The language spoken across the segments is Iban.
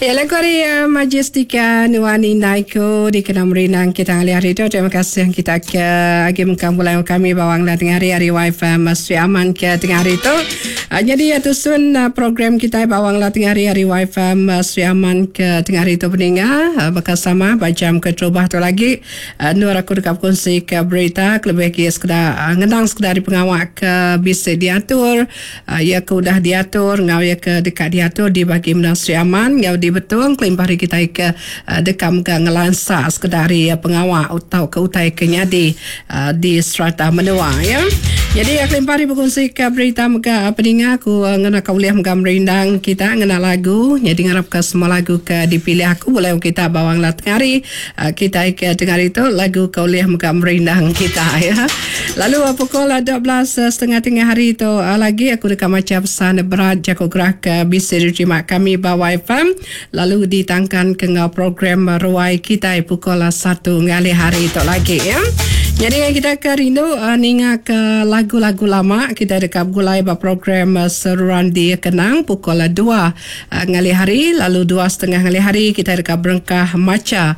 Ya lagu ari uh, Majestica Nuan Indai Ku dikena merindang kita ngalih hari tu. Terima kasih kita ke agi mengkang pulai kami bawang dan tengah hari hari wifi Sri Aman ke tengah hari tu. Uh, jadi uh, tusun uh, program kita bawang lah tengah hari hari wifi Sri Aman ke tengah hari tu peninga uh, bakal sama ba jam keterubah tu lagi uh, nur aku deka berkongsi ke berita kelebih lagi sekeda uh, ngenang sekeda ari pengawa ke bisi diatur Iya ke udah diatur enggau iya ke deka diatur di bagi menua Sri Aman enggau di Betong kelimpah ari kitai ke deka mega ngelansa sekeda ari pengawa tauka utai ke nyadi di serata menua iya. Nyadi kelimpah ari bekunsika berita mega peninga aku ngena ka ulih mega merindang kita ngena lagu nyadi ngarapka semua lagu ke dipilih aku bulih kita bawang la tengah hari kitai ke tengah hari tu lagu ke ulih mega merindang kita iya. Lalu pukul 12 setengah tengah hari tu lagi aku deka macha pesan berat jaku gerah ke bisi diterima kami ba YFM lalu ditangkan ke enggau program ruai kitai pukul satu ngalih hari tu lagi ya. Nyadi kita ke rindu ninga ke lagu-lagu lama kita deka begulai ba program seruran dikenang pukul dua ngalih hari lalu dua setengah ngalih hari kita deka berengkah macha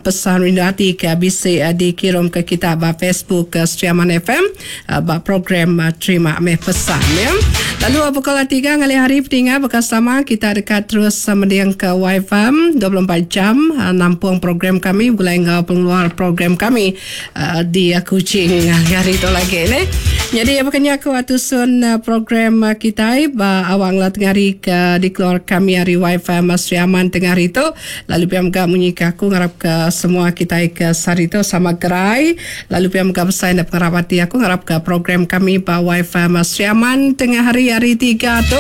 Pesan rindu ati ke bisi dikirum ke kita ba Facebook Sri Aman FM ba program Terima Meh Pesan ya. Lalu pukul 3 ngalih hari peninga baka sama kita deka terus mending ke YFM 24 jam nampung program kami begulai enggau pengeluar program kami di Kuching hari tu lagi neh. Nyadi baka nya aku tusun program kitai ba awak ngela tengah hari ke dikeluar kami ari YFM Sri Aman tengah hari tu. Lalu pia mega munyi ke aku ngarap ke semua kitai ke sehari tu sama gerai. Lalu pia mega besai enda pengarap ati aku ngarap ke program kami ba YFM Sri Aman tengah hari hari tiga tu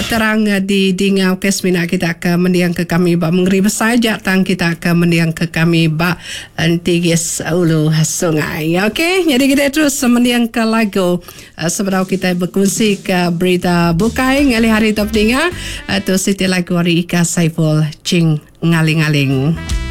terang di dinga ukai semina kita ke mending ke kami ba mengeri besai aja tang kita ke mending ke kami ba Entigis Ulu Sungai. Okey, nyadi kitai terus mending ke lagu Sebedau kitai bekunsi ke berita bukai ngalih hari tu peninga, tu siti lagu ari Ika Saiful Ching Ngaling-ngaling.